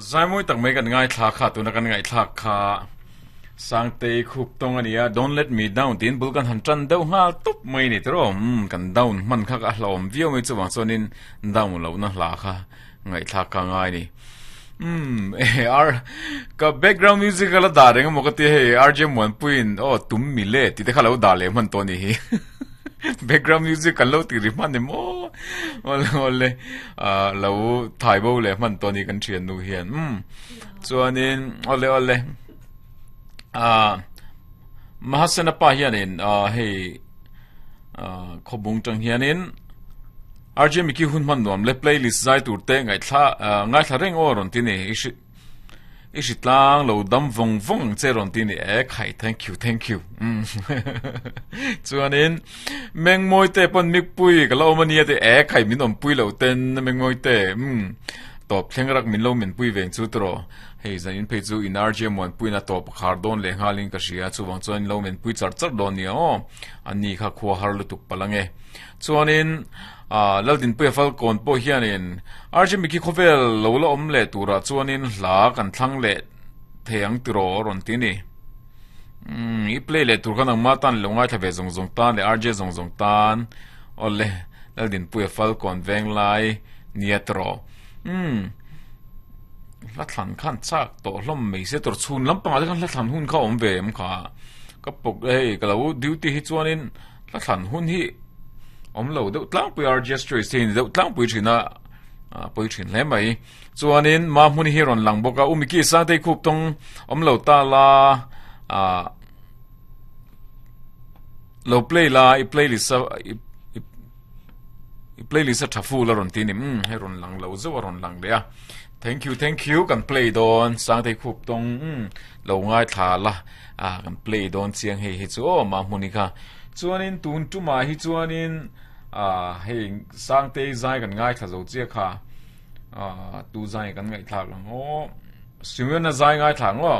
Zaimawi tak mai kan ngaithla kha tuna kan ngaihthlak kha Sangtei khup tawng a nia Don't let me down tiin bul kan han tan deuh nghal tawp mai ni tiraw umm kan down hman kha a hlauhawm viau mai chuvang chuanin down lohna hla kha ngaihthlak kha a ngai a ni umm eh ar ka background music a la dah reng emaw ka tia hei RJ Muanpuiin aw tum mile tih te kha lo dah leh hman tawh a ni hi. Background music kan lo tih ri hman em aw awle awle ah lo thai bo leh hman tawh ani kan thian nu hian umm chuanin awle awle ah Mahasena pa hianin ah hei ah khawbung tang hianin RJ Mickey hun hman nuam le playlist zai tur te ngaihthla ah ngaithla reng aw rawn ti ni i hri I hri tlang lo dam vawng vawng ang che rawn ti ni e khai thank you thank you umm chuanin Mengmawi te pawn mikpui ka la awm ania te e khai min awmpui lo ten Mengmawi te umm tawp thleng rak min lo menpui veng chu tawh hei zan in phei chu in RJ Muanpuiin a tawp a khar dawn leh nghalin ka hria chuvang chuan in lo menpui char char dawn nia aw ani kha khua har lutuk palh ange chuanin Ah, Laldinpuia Falkawn pawh hianin RJ Mickey khawvel lo la awm leh turah chuanin hla kan thlang leh thei ang tiraw a rawn ti a ni. Umm, i play leh tur kha nangmah tan lo ngaithla ve zawng zawng tan leh RJ zawng zawng tan awle Laldinpuia Falkawn venglai nia tiraw. Umm, hla thlan khan chak tawh hlawm mai se tur chhun lampangah te khan hla thlan hun kha a awm ve em kha. Ka pawk hei ka lo duty hi chuanin Hla thlan hun hi awm lo deuh tlangpui a register hi ni deuh tlangpui thin a pawi thin hle mai chuanin ma hmun hi rawn lang bawk a umiki sangtei khup tawng awm lo ta la ah lo play la i playlist a i playlist a tha fu la rawn ti ni um hei rawn lang lo zeuh a rawn lang leh a thank you thank you kan play dawn sangtei khup tawng um lo ngaithla la ah kan play dawn chiang hei hi chu aw mahmuni kha chuanin tun tumah hi chuanin ah hei sangtei zai kan ngaithla zo chiah kha ah tu zai kan ngaihthlak ang aw Simeon-a zai ngaithla ang aw.